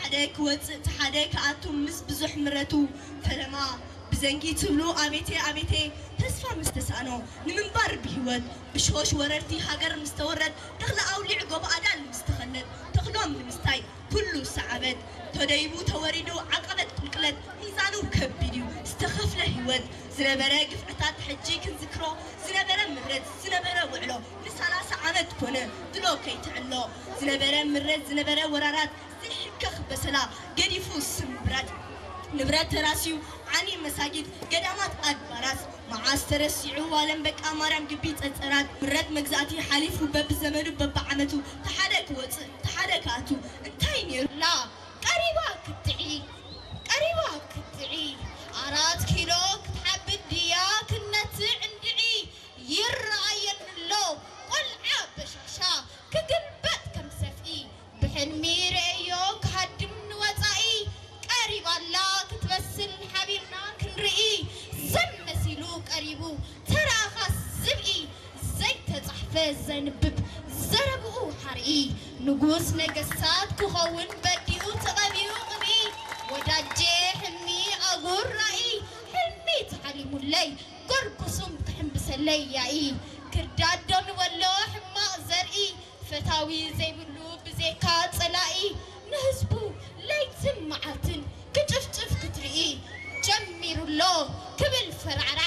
ሓደ ክወፅእ እቲ ሓደ ክኣቱ ምስ ብዙሕ ምረቱ ፈለማ ብዘንጊ ትብሉ ኣቤቴ ኣቤቴ ተስፋ ምስ ተሳእኖ ንምንባር ብህይወት ብሽሆሽ ወረርቲ ሃገር ምስ ተወረት ተኽለ ኣውሊዕ ጎቦ ኣዳል ምስ ተኸለት ተኽሎም ንምስታይ ኩሉ ሰዓበት ተደይቡ ተወሪዱ ዓቐበት ቁልቅለት ሚዛኑ ከቢድ እዩ ዝተኸፍለ ህይወት ዝነበረ ግፍዕታት ሕጂ ክንዝክሮ ዝነበረ ምረት ዝነበረ ውዕሎ ንሳላሳ ዓመት ኮነ ድሎ ከይትዕሎ ዝነበረ ምረት ዝነበረ ወራራት ዘይሕከኽ በሰላ ገዲፉ ስምብራት ንብረት ተራስዩ ዓኒ መሳጊድ ገዳማት ኣድባራት መዓስ ተረሲዑ ዋለም በቃ ማርያም ግቢ ጸጸራት ምረት መግዛእቲ ሓሊፉ በብዘመኑ በብዓመቱ ተሓደ ክወፅእ ተሓደ ክኣቱ እንታይ ነይሩ ላ ቀሪባ ክትዒ ቀሪባ ክትዒ ኣራት ኪሎ ክትሓብድ ድያ ክነትዕ እንድዒ ይረኣየኒ ኣሎ ቆልዓ በሻሻ ክግልበጥ ከም ሰፍኢ ብሕልሚ ርእዮ ክሃድም ንወጻኢ ቀሪባ ኣላ ክትበስል ሓቢርና ክንርኢ ዘመሲሉ ቀሪቡ ተራኻ ዝብኢ ዘይተጻሕፈ ዘንብብ ዘረብኡ ሓርኢ ንጉስ ነገስታት ክኸውን በዲኡ ተቐቢኡ ቅብኢ ወዳጄ ሕልሚ ኣጉር ራኢ ሕልሚ ተሓሊሙለይ ጎርጉሱም ክሕምብሰለይ ያኢ ክርዳዶ ንበሎ ሕማቕ ዘርኢ ፈታዊ ዘይብሉ ብዜካ ጸላኢ ንህዝቡ ለይትን መዓልትን ክጭፍጭፍ ክትርኢ ጀሚሩ ኣሎ ክብል ፈራዕራ